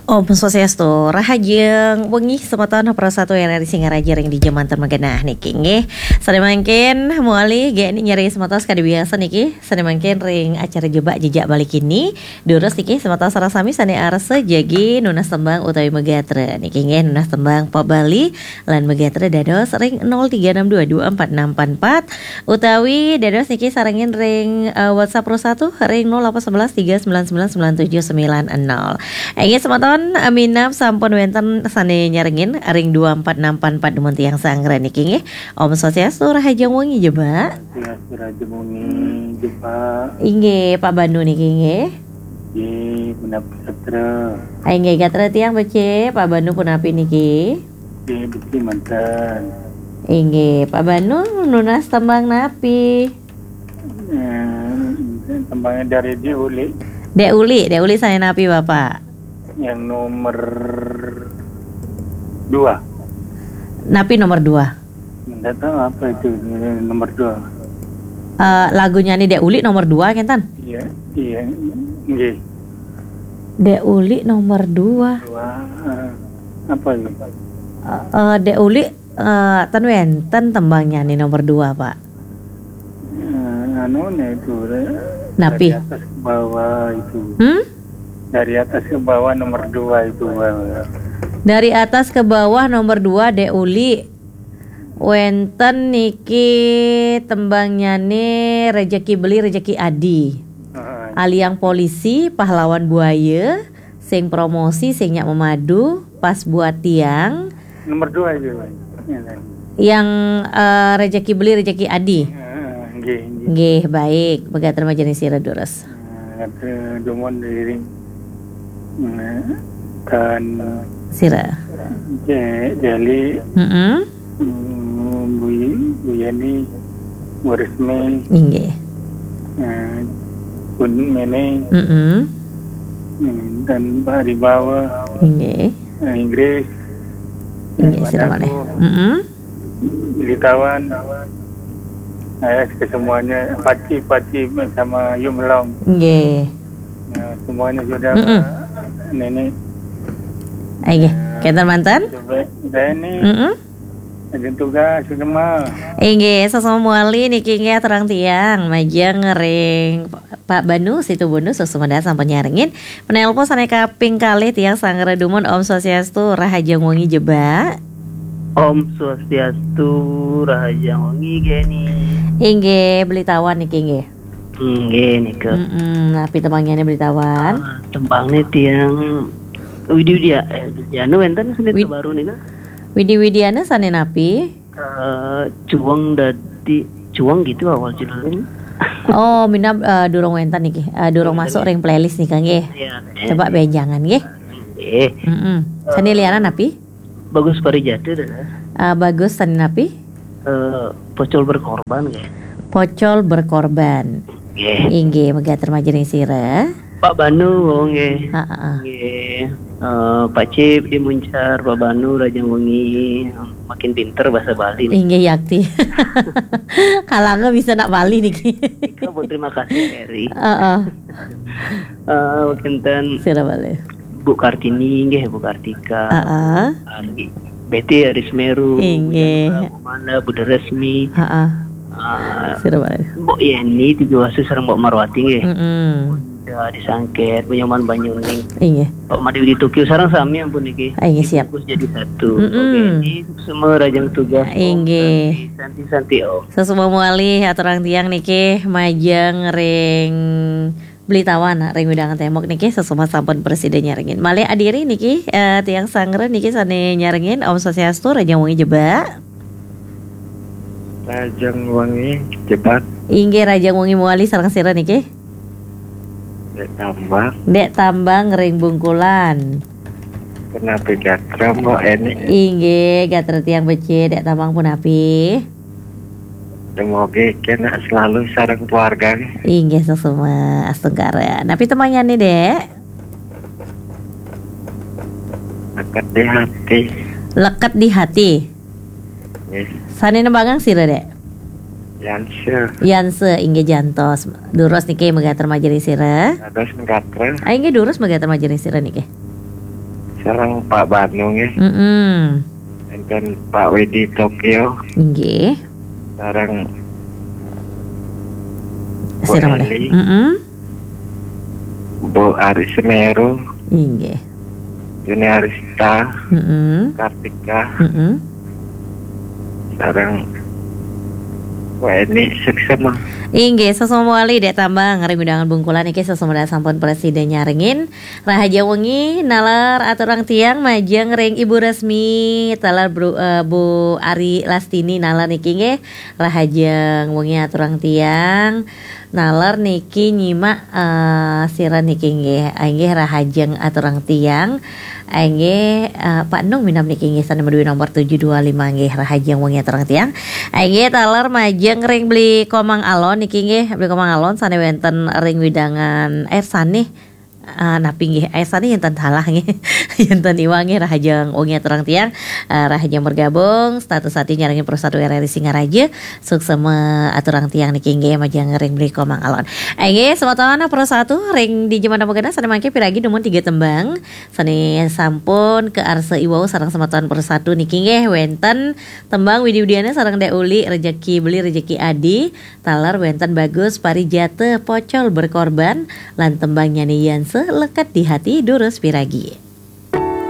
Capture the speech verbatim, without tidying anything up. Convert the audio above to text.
Om Swastiastu, rahajeng wengi semeton Pro satu R R I Singaraja ring dija manten magenah niki nggih. Sane mangkin mawali geni nyeri semeton sakadi biasa niki. Sane mangkin ring acara Jebak Jejak Bali kini, durus niki semeton sareng sami sane arsa jagi nunas tembang utawi magatra niki nggih, nunas tembang pop Bali lan magatra dados ring nol tiga enam dua dua empat enam empat empat utawi dados niki sarengin ring, eh, WhatsApp Pro satu ring nol delapan sebelas tiga sembilan sembilan sembilan tujuh sembilan nol. Inggih semeton, eh, minab sampun wenten sane nyarengin ring dua empat enam empat empat dumun tiang sanggra niki nggih. Om Swastiastu, rahajeng wengi Jebak. Ya, rahajeng wengi Jebak. Inggih, Pak Banu niki nggih. Nggih, punapi gatra? Ah, inggih, gatra tiang becik, Pak Banu punapi niki? Nggih, becik manten. Inggih, Pak Banu nunas tembang napi? Eh, tembangnya dari Dek Uli. Dek Uli, Dek Uli sane napi, Bapak? Yang nomor dua. Napi nomor dua? Nggak tahu apa itu, nomor dua. Eh, lagunya nih Dek Uli nomor dua, kenten? Iya, iya, nggih. Dek Uli nomor dua. Dua, eh, apa ya? Eh, eh, Dek Uli, eh, ten wenten tembangnya nih nomor dua, Pak. Eh, anu nih itu, eh, Napi? Dari atas ke bawah itu. Hmm? Dari atas ke bawah nomor dua itu, Bang. Dari atas ke bawah nomor dua, Dek Uli. Wenten niki tembangnyane Rejeki Beli, Rejeki Adi. Heeh. Aliang Polisi, Pahlawan Buaya, Sing Promosi, Sing Nyak Memadu, Pas Buat Tiang. Nomor dua itu. Yang, eh, Rejeki Beli, Rejeki Adi. Heeh, nggih, nggih. Nggih, baik. Pegat remaja sira durus. Nah, kata dumun diri. Nah, kan Sira. Je-, Jali. Mm-mm. Hmm, Bu, Bu Yani, Bu Resmi. Inggih. Nah, pun Mene. Mm-mm. Hmm, dan Pak Ribawa. Inggih. Nah, Inggris. Inggih, Pak sira Dago. Malih. Mm-mm. Beli Tawan. Nah, ya, ke semuanya, Paci, Paci sama Yum Long. Nggih. Nah, semuanya sudah, mm-mm. Pak Nene. Inggih. Nah, kenten manten? Coba, saya ini, mm-mm, ada tugas, sudah mah. Inggih, sesama mawali niki nggih aturang tiang, majeng ring Pak Banu, Situ Bundu, suksma sampun nyarengin. Penelpon sane kaping kalih tiang sanggra dumun, Om Swastiastu, rahajeng wengi Jebak. Om Swastiastu, rahajeng wengi Geni. Inggih, Beli Tawan niki nggih. Inggih nika. Mm-mm, napi tembangnyané Beli Tawan? Ah, tembangne tiang Widi Widia, eh, Widiana wenten seni Wid- terbaru nina. Widi Widiana sane napi? Eh, Cuweng dadi Cuweng gitu awal judulnya. Oh, minab, eh, durung wenten niki. Eh, durung masuk ring playlist nika nggih. Iya. Coba benjangan nggih. Nggih. Mm-mm. Sane lianan napi? Bagus Parijata, dah. Eh, Bagus sane napi? Eh, Pocol Berkorban nggih. Pocol Berkorban. Nggih. Inggih, megater majeng sira. Pak Banu, oh, nggih. Heeh. Nggih. Eh, Pak Cip di Muncar, Pak Banu, rahajeng wengi, makin pinter bahasa Bali nih. Inggih, yakti. Kalanga bisa nak Bali niki. Ika pun terima kasih, Eri. Heeh. Eh, kinten. Sira malih. Bu Kartini, nggih, Bu Kartika. Heeh. Ari-, Betty Aris Meru, inggih. Bu Jana, Bu Manda, Bu Resmi. Heeh. Ah, sira malih. Mbok Yeni, Tiga Wasu sareng Mbok Marwati, nggih. Mm-mm. Bunda di Sangket, Bu Nyoman Banyuning. Inggih. Pak Made Widitugio sareng sami ampun niki. Ah, inggih, siap. Dibungkus jadi satu. Mm-mm. Oke, ini semua rahajeng tugas, Om. Inggih. Santi, Santi, Santi, Om. Sesama malih aturang tiang niki majeng ring Beli Tawan ring wewidangan Tembok niki, sesama sampun prasida nyarengin. Malih adiri niki, eh, tiang sanggra niki sane nyarengin, Om Swastiastu, rahajeng wengi Jebak. Rahajeng wengi Jebak. Inggih, rahajeng wengi mawali sareng sira niki. Dek Tambang. Dek Tambang ring Bungkulan. Punapi gatra, Mbok Eni? Inggih, gatra tiang becik, Dek Tambang punapi? Semoga kena selalu sareng keluarga. Inggih, sesama astungkara. Napi tembangnyané, Dek? Leket di hati. Leket di hati. Nggih. Sané nembangang sira, Dek? Yanse. Yanse, inggih jantos. Durus niki megater majeng sira. Dados megater. Ah, inggih durus megater majeng sira niki. Sareng Pak Bandung ya. Mm-mm. Enten Pak Widi Tokyo. Inggih. Sareng Sira malih. Eli. Mm-mm. Bu Ari Semeru. Inggih. Yuni Arista. Mm-mm. Kartika. Mm-mm. Sareng Bu Eni Suksema. Inggih, sasmala malih Dek Tambang ring wewidangan Bungkulan niki, sasmala sampun prasida nyarengin. Rahajeng wengi naler aturang tiang majeng ring Ibu Resmi, taler Bru, eh, Bu Ari Lastini naler niki nggih. Rahajeng wengi aturang tiang. Naler niki nyimak, eh, sira niki nggih. Inggih, rahajeng aturang tiang. Inggih, eh, Pak Nung minab niki nggih sane maduwe nomor tujuh dua lima nggih, rahajeng wengi aturang tiang. Inggih, taler majeng ring Beli Komang Alon niki nggih, Beli Komang Alon sane wenten ring wewidangan, eh, sane, eh, napi nggih, eh, sane enten salah nggih. Enten iwang nggih, rahajeng wengi aturang tiang. Eh, rahajeng bergabung, status ati nyarengin Pro satu R R I Singaraja. Suksma aturang tiang niki nggih, majeng ring Beli Komang Alon. Inggih, semeton Pro satu ring dija mangkin sane mangke piragi dumun tiga tembang sane sampun kaarsa iwau sareng semeton Pro satu niki nggih, wenten tembang Widi-widiane sareng Dek Uli, Rejeki Beli Rejeki Adi, taler wenten Bagus Parijata, Pocol Berkorban, lan tembang nyane Yanse, Lekat di Hati, durus piragi.